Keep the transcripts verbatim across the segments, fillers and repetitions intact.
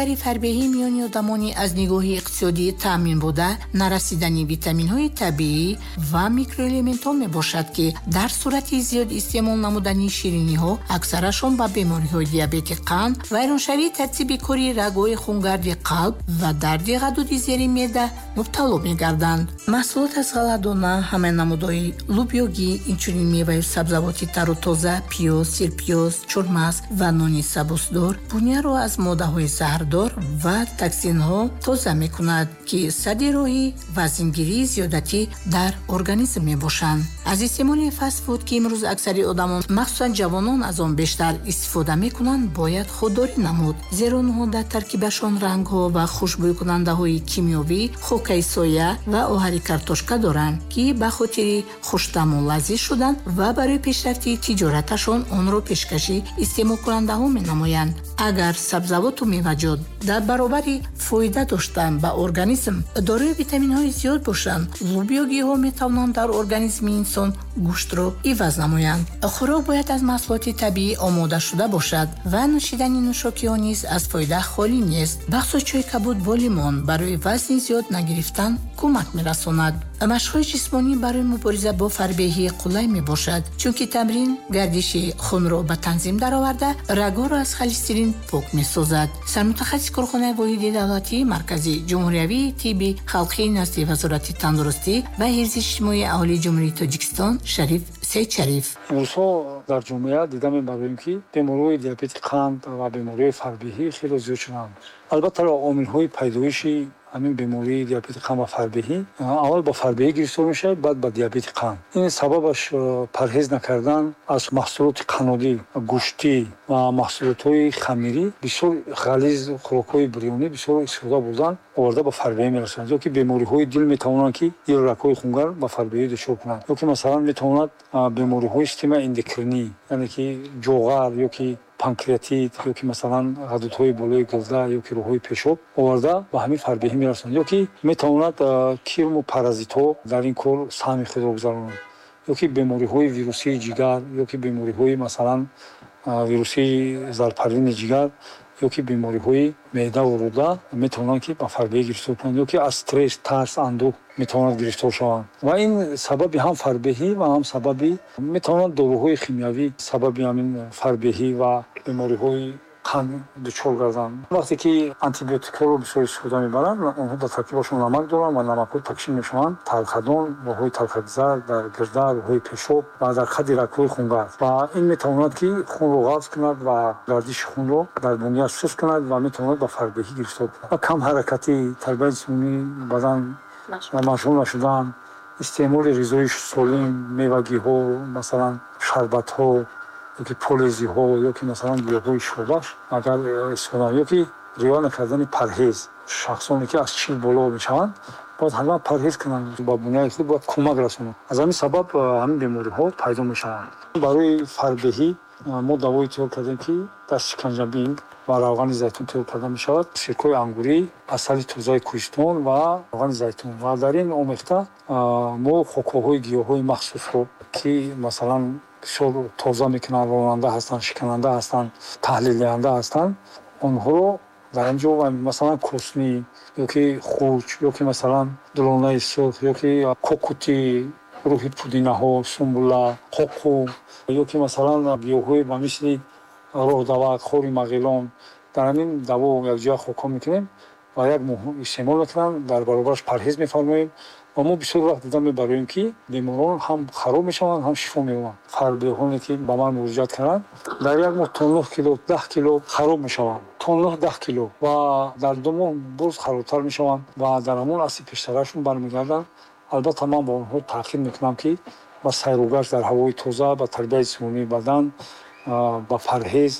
Дари фарбеҳӣ миёни одамони аз нигоҳи иқтисодӣ таъмин буда, нарасидани витаминҳои табиӣ ва микроэлементҳо мебошад, ки дар сурати зиёд истеъмол намудани шириниҳо аксарашон ба бемориҳои диабети қанд, вайроншавии тартиби кори рагҳои хунгарди қалб ва дарди ғадуди зери меъда мубтало мегарданд. Маҳсулот аз ғалладона, ҳама намудҳои лубёгӣ, инчунин меваю сабзавоти тару тоза, пиёз, сирпиёз, чормағз ва нони сабусдор буняро аз моддаҳои заҳрдор ва токсинҳо тоза мекунад, ки садди роҳи вазнгирии зиёдатӣ дар организм мебошанд. Аз истеъмоли фастфуд, ки имрӯз аксари одамон, махсусан ҷавонон, аз он бештар истифода мекунанд, бояд худдорӣ намуд, зеро онҳо дар таркибашон рангҳо ва хушбӯйкунандаҳои кимиёвӣ, хокаи соя ва оҳари картошка доранд, ки ба хотири хуштаму лазиз шудан ва барои пешрафти тиҷораташон онро пешкаши истеъмолкунандаҳо менамоянд. Агар сабзавоту меваҷот дар баробари фоида доштан ба организм дорои витаминҳои зиёд бошанд, лубёгиҳо метавонанд дар организми инсон гӯштро иваз намоянд. Хӯрок бояд аз маҳсулоти табиӣ омода шуда бошад ва нӯшидани нӯшокиҳо низ аз фоида холӣ нест. Бахусус чойи кабуд бо лимон барои вазни зиёд нагирифтан кӯмак мерасонад. Машқҳои ҷисмонӣ барои мубориза бо фарбеҳӣ қулай мебошад, чунки тамрин гардиши хунро ба танзим дароварда, рагҳоро аз холестерин пок месозад. Сармутахассиси корхонаи воҳиди давлатии марказии ҷумҳуриявии тибби халқӣ назди Вазорати тандурустӣ ва ҳифзи иҷтимоии аҳолии Ҷумҳурии Тоҷикистон Шариф Сейдшариф. Имрӯзҳо дар ҷомеа дида мебарем, ки бемориҳои диабети қанд ва бемориҳои фарбеҳӣ хеле зиёд шуданд. Албатта, омилҳои пайдоиши ҳамин бемории диабети қанд ва фарбеҳӣ, аввал ба фарбеҳӣ гирифтор мешавад, баъд ба диабети қанд. Ин сабабаш парҳез накардан аз маҳсулоти қаннодӣ, гӯштӣ ва маҳсулотҳои хамирӣ, бисёр ғализ, хӯрокҳои бирёнӣ бисёр истифода бурдан оварда ба фарбеҳӣ мерасонад. Ё ки бемориҳои дил метавонанд, ки дил, рагҳои хунгар ба фарбеҳӣ дучор кунанд. Ё ки масалан метавонад бемориҳои системаи эндокринӣ, яъне ки ҷоғар ё ки панкреатит, ё ки масалан ғадудҳои болои гурда ё ки роҳҳои пешоб оварда ба ҳамин фарбеҳӣ мерасонад. Ё ки метавонад кирму паразитҳо дар ин кор саҳми худро гузаронанд. Ё ки бемориҳои вирусии ҷигар, ё ки бемориҳои масалан вирусии зарпарвини ҷигар, ё ки бемориҳои меъдаву рӯда метавонанд, ки ба фарбеҳӣ гирифтор кунанд, ё ки аз стресс, тарс, андӯҳ метавонанд гирифтор шаванд. Ва ин сабаби ҳам фарбеҳӣ ва ҳам сабаби метавонанд доруҳои химиявӣ сабаби ҳамин фарбеҳӣ ва бемориҳои қанд дучор гарданд. Вақте ки антибиотикҳоро бисёр истифода мебаранд, онҳо дар таркибашон намак доранд ва намакҳо тақсим мешаванд талхадон, роҳҳои талхагзар, дар гирда, роҳҳои пешоб ва дар қади рагҳои хунгард. Ва ин метавонад, ки хунро ғафз кунад ва гардиши хунро дар буния суст кунад ва метавонад ба фарбеҳӣ гирифтор кунад. Ва камҳаракатӣ, тарбияи ҷисмонии бадан машғул нашудан, истеъмоли ғизои солим, мевагиҳо, масалан шарбатҳо, ё ки полезиҳо, ё ки масалан гиёҳҳои шифобахш агар истифода, ё ки риоя накардани парҳез. Шахсоне ки аз чил боло мешаванд, бояд ҳатман парҳез кунанд, ба буняи худ бояд кӯмак расонанд. Аз ҳамин сабаб ҳамин бемориҳо пайдо мешаванд. Барои фарбеҳӣ мо давое тайёр кардем, ки дар шиканҷабин ва равғани зайтун тайёр карда мешавад: сиркои ангурӣ, асали тозаи кӯҳистон ва равғани зайтун. Ва дар ин омехта мо хокаҳои гиёҳҳои махсусро, ки масалан бисёр тоза мекунанд, ронанда ҳастанд, шикананда ҳастанд, таҳлилдиҳанда ҳастанд, онҳоро дар ин ҷо, масалан косни, ё ки хурч, ё ки масалан дулонаи сурх, ё ки кокути, рӯҳи пудинаҳо, сумбула, қоқу, ё ки масалан гиёҳҳои ба мисли роҳдавак, хори мағилон, дар ҳамин даво якҷоя хокҳо мекунем ва як моҳ истеъмол мекунанд, дар баробараш парҳез мефармоем. Ва мо бисёр вақт дида мебароем, ки беморон ҳам хароб мешаванд, ҳам шифо меёбанд. Фарбеҳоне ки ба ман муроҷиат карданд, дар як моҳ то нӯҳ кило, даҳ кило хароб мешаванд, то нӯҳ даҳ кило, ва дар ду моҳ боз харобтар мешаванд ва дар ҳамон асли пештарашон бармегарданд. Албатта, ман ба онҳо таъкид мекунам, ки ба сайругашт дар ҳавои тоза, ба тарбияи ҷисмонии бадан, ба парҳез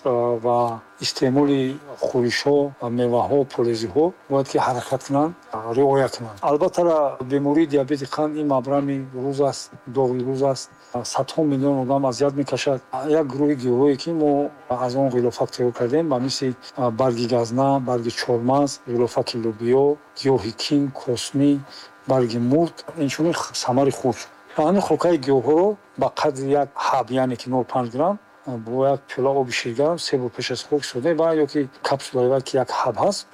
ва истеъмоли хӯришҳо, меваҳо, полезиҳо бояд ки ҳаракат кунанд, риоя кунанд. Албатта, бемории диабети қанд ин мабрами рӯз аст, доғи рӯз аст, садҳо миллион одам азият мекашад. Як гурӯҳи гиёҳое ки мо аз он ғилофак тайёр кардем, ба мисли барги газна, барги чормағз, ғилофаки лӯбиё, гиёҳи кин, космӣ, барги мурт, инчунин самари хурч, ва ҳамин хокаи гиёҳҳоро ба қадри як ҳаб, яъне ки нол панҷ грамм Бо як пиёла оби ширгарм се бор пеш аз хӯрок истифода мебаранд, ё ки капсулаи вай, ки як ҳаб ҳаст.